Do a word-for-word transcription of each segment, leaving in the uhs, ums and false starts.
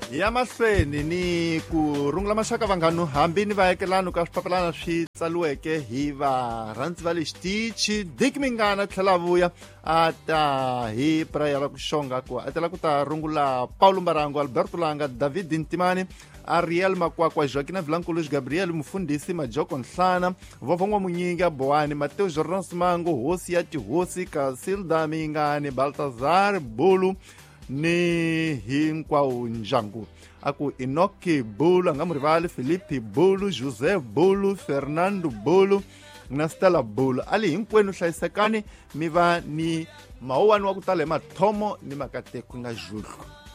Ya mahlweni ni ku rungula maxaka vanghanu hambi ni vaekelano ka swipapalana swi tsaliweke hi varhandzi va le xitichi Dick Mingana tlhela vuya a ta hi prayera ku xonga ku a tela ku ta rungula Paulo Mbarango, Alberto Langa, David Ntimani, Ariel Makwakwa, Joaquina Vilankulu, Gabriel Mufundisi, Majoko Nhlana, Vovongo Munyinga, Boani, Mateo Jordan Simango, Hosi ya Tihosi, Casilda Mingani, Baltazar Bulu ni hinkwawo ndyangu. A ku Enoki Bulu, a nga mu rivali Felipe Bulu, José Bulu, Fernando Bulu na Stella Bulu. A li hinkwenu hlayisekani mi va ni mawuwani wa ku tala hi mathomo ni makateko nga juhlu.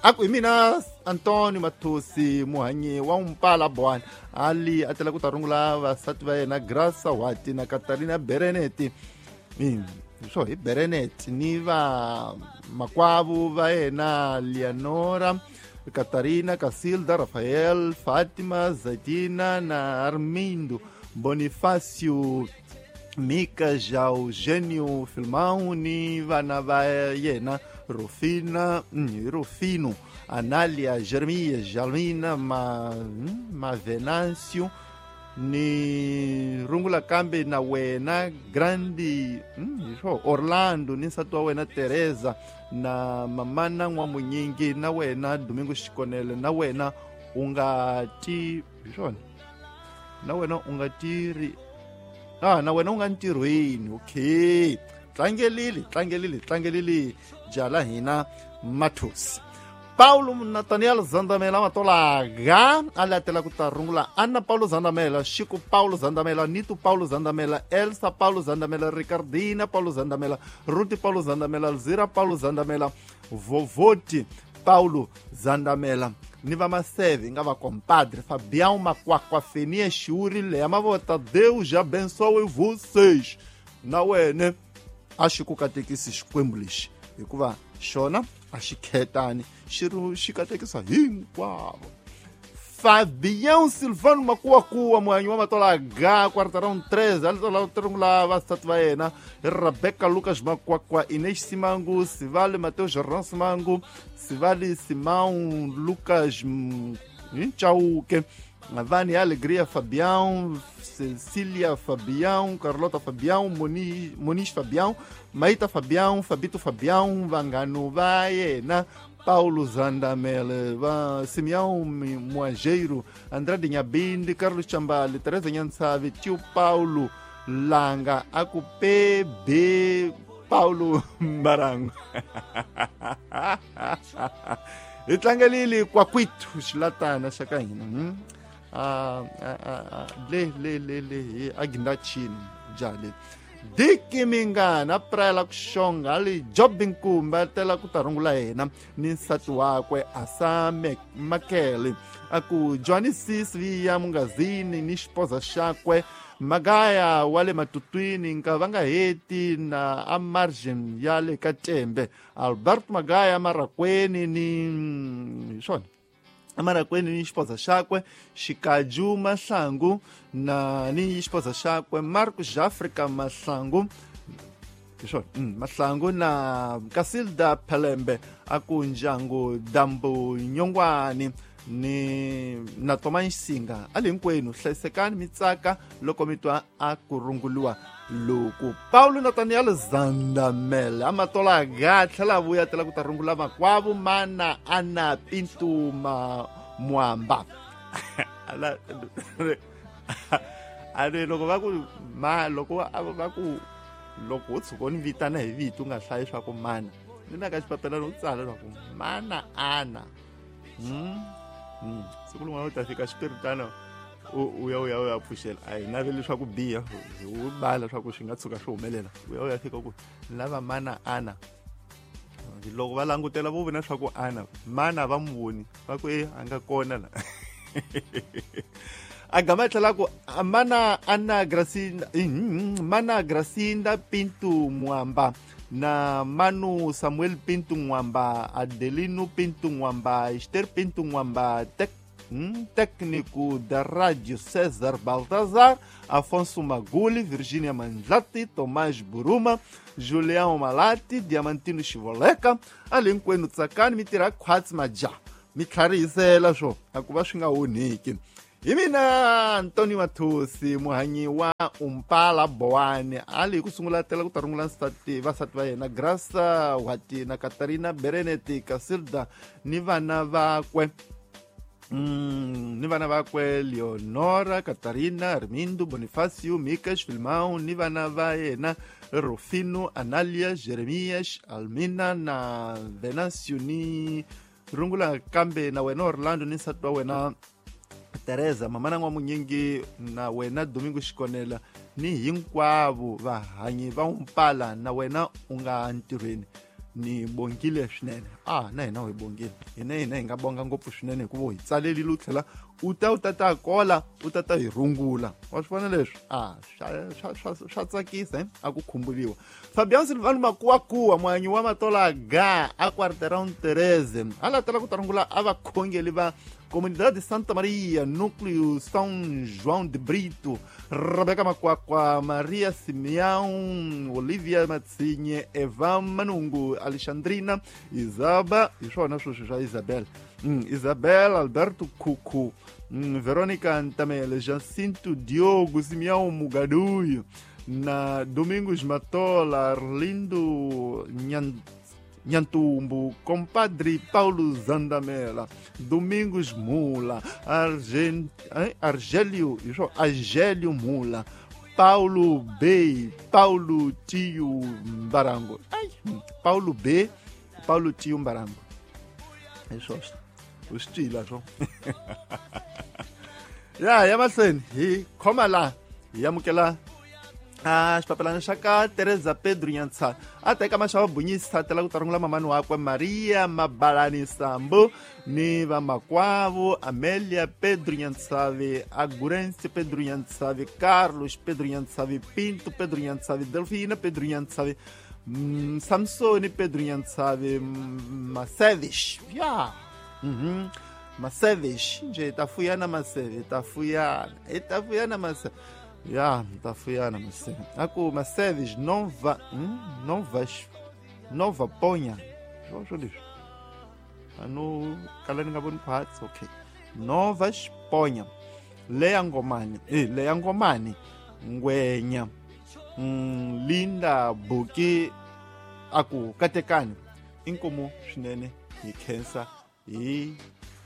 A ku hi mina Antonio Mathosi muhanyi wa Mpala Boani a li a tela ku ta rungula vasati va yena Graça Wati na Katarina Bereneti. So hi Berenet ni va makwavo va yena Leonora, Katarina, Casilda, Rafael, Fatima, Zatina na Armindo, Bonifacio, Mika, Eugênio Filmão ni vana va yena Rufina, Rufino, Anália, Jeremias, Jalmina, Ma, Mavenâncio ni rungula kambe na wena Grandi mm, Orlando ni nsati wa wena Teresa na mamana N'wamunyingi na wena Domingo Xikonele na wena u nga ti swona na wena u nga tiri ah na wena u nga ntirhweni. Okay, tlangelile tlangelile tlangelile jala hina Mathosi. Paulo Nathaniel Zandamela Matolaga a latela ku ta rungula Anna Paulo Zandamela, Chico Paulo Zandamela, Nito Paulo Zandamela, Elsa Paulo Zandamela, Ricardina Paulo Zandamela, Ruti Paulo Zandamela, Alzira Paulo Zandamela, Vovoti Paulo Zandamela ni va maseve nga va compadre Fabião Makwakwa, Fenia Xiuri, Leia Mavota. Deus abençoe vocês. Na wena a xi ku katekisi Xikwembu lexi hikuva xona a xi khetani xi xi katekisa hinkwavo. Fabião Silvano Makuakuwa muhanyi wa Matolaga quarteirão treze a rungula vasati va yena Rebecca Lucas Makwakwa, Inês Simango, Sivale Mateus Jordan Simango, Sivale Simão Lucas Chauque, Vânia Alegria Fabião, Cecília Fabião, Carlota Fabião, Moniz, Moniz Fabião, Maíta Fabião, Fabito Fabião, Vangano Vaena, Paulo Zandamela, Simeão Moageiro, André de Nhabinde, Carlos Chambali, Teresa Nhansavi, Tio Paulo Langa, Aku P B Paulo Mbarango. Hi tlangelile Kwakwito xilatana xa ka hina. Hmm? Ah, ah, ah, le le le le agindachini jale Dick Mingana prayela ku xonga li Job Nkumba tela ku ta rungula yena ni nsati wakwe Asame Makele a ku Johnny Sis viya Mungazini ni xipoza xakwe Magaya wa le Matutwini nka va nga heti na a margin ya le ka Tembe Albert Magaya Marakweni ni swona Amarakweni ni xipoza xakwe Xikaju Mahlangu na ni xipoza xakwe Marcos Africa Mahlangu swona mm, Mahlangu na Casilda Pelembe a ku ndyangu Dambu Nyongwani ni na Thomas Nsinga a le hinkwenu hlayisekani mi tsaka loko mi twa a ku runguliwa loko Paulo Nathaniel Zandamela Amatolaga tlhela vuya tela ku ta rungula makwavo mana Ana Pintuma Mwamba. Ala ale loko va ku ma loko va ku loko u tshuka u ni vitana hi vito u nga hlayi swa ku mana ni na ka xipapelana u tsala swa ku mana Ana. Hmm. Mm. Siku rin'wana u ta fika xipiritana u ya u ya u ya pfuxela a hi naveli swa ku biha u bala swa ku swi nga tshuka swi humelela u ya u ya fika ku lava mana Ana loko va langutela vo vona swa ku Ana mana va mu voni va ku e a nga kona la a gama tlhela ku mana Ana Gracinda mana Gracinda Pinto Mwamba na Manu Samuel Pinto Mwamba, Adelino Pinto Mwamba, Esther Pinto Mwamba, tec, hum, técnico da Rádio César Baltazar, Afonso Maguli, Virgínia Manzati, Tomás Buruma, Julião Malati, Diamantino Chivoleca, Alinqueno Tsakani, Mitira Quatmaja. Mi tlharihisela swo a ku va swi nga onhiki. Hi mina Antoni Mathosi muhanyi wa Umpala Bowani a li ku sungula tela ku ta rungula nsati vasati va yena Grasa Wati na Katarina Bereneti Casilda ni vana vakwe Mm, ni vana vakwe Leonora, Katarina, Armindo, Bonifacio, Micas, Filmão, ni vana va yena Rufino, Analia, Jeremias, Almina na Venancio ni rungula kambe na wena Orlando ni nsati wa wena Teresa, mamana n'wamunyingi na wena Domingo Xikonela ni hinkwavo vahanyi va Umpala na wena u nga ntirhweni ni bongile swinene. Ah, na hina hi bongile hina hina hi nga bonga ngopfu swinene hikuva hi tsalelile u tlhela u ta u ta ta kola u ta ta hi rungula wa swi vona leswi ah swa swa swa tsakisa eh a ku khumbuliwa. Fabian Silvano Makuwakuwa muhanyi wa Matola ga a Quarteirão Tereze a latela ku ta rungula a vakhongeli va Comunidade de Santa Maria, Núcleo São João de Brito, Rebeca Makwakwa, Maria Simeão, Olivia Matsinhe, Eva Manungu, Alexandrina, Isaba, iswona sweswi swa Isabel, mm, Isabel, Alberto Kuku, mm, Verônica Antamele, Jacinto Diogo, Simeão Mugaduio, na Domingos Matola, Arlindo Nhan Nhantumbo, compadre Paulo Zandamela, Domingos Mula, Argent, Argélio, Argélio Mula, Paulo B, Paulo Tio Mbarango. Ai, Paulo B, Paulo Tio Mbarango. É só o estilo, só. Ya, ya mahlweni hi khoma la, hi amukela a xipapelana xa ka Teresa Pedro Nyantsha a teka maxava bunyisa tela ku ta rungula mamani wakwe Maria Mabalani Sambo ni vamakwavo Amelia Pedro Nyantshavi, Agurense Pedro Nyantshavi, Carlos Pedro Nyantshavi, Pinto Pedro Nyantshavi, Delfina Pedro Nyantshavi, mm, Samsoni Pedro Nyantshavi, Masevish ya mhm Masevish nje tafuyana Masevi tafuyana etafuyana Masevi ya tafuyana Masevi aku Masevis nova hum, novas nova ponha swo leswi ano kala ni nga voni parts okay novas ponha leya ngomani eh leya ngomani ngwenya mm, Linda Buki aku katekani inkomo swinene hi khensa hi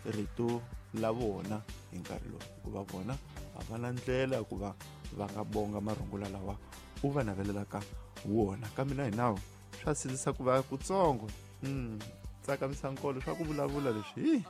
rito la vona hi nkarhi lowu hikuva vona a va na ndlela ku va va nga bonga marungula lawa u va navelelaka wona kambe na hinawo swa sindzisa ku va kutsongo mm tsakamisa nkolo swa ku vulavula leswi hi.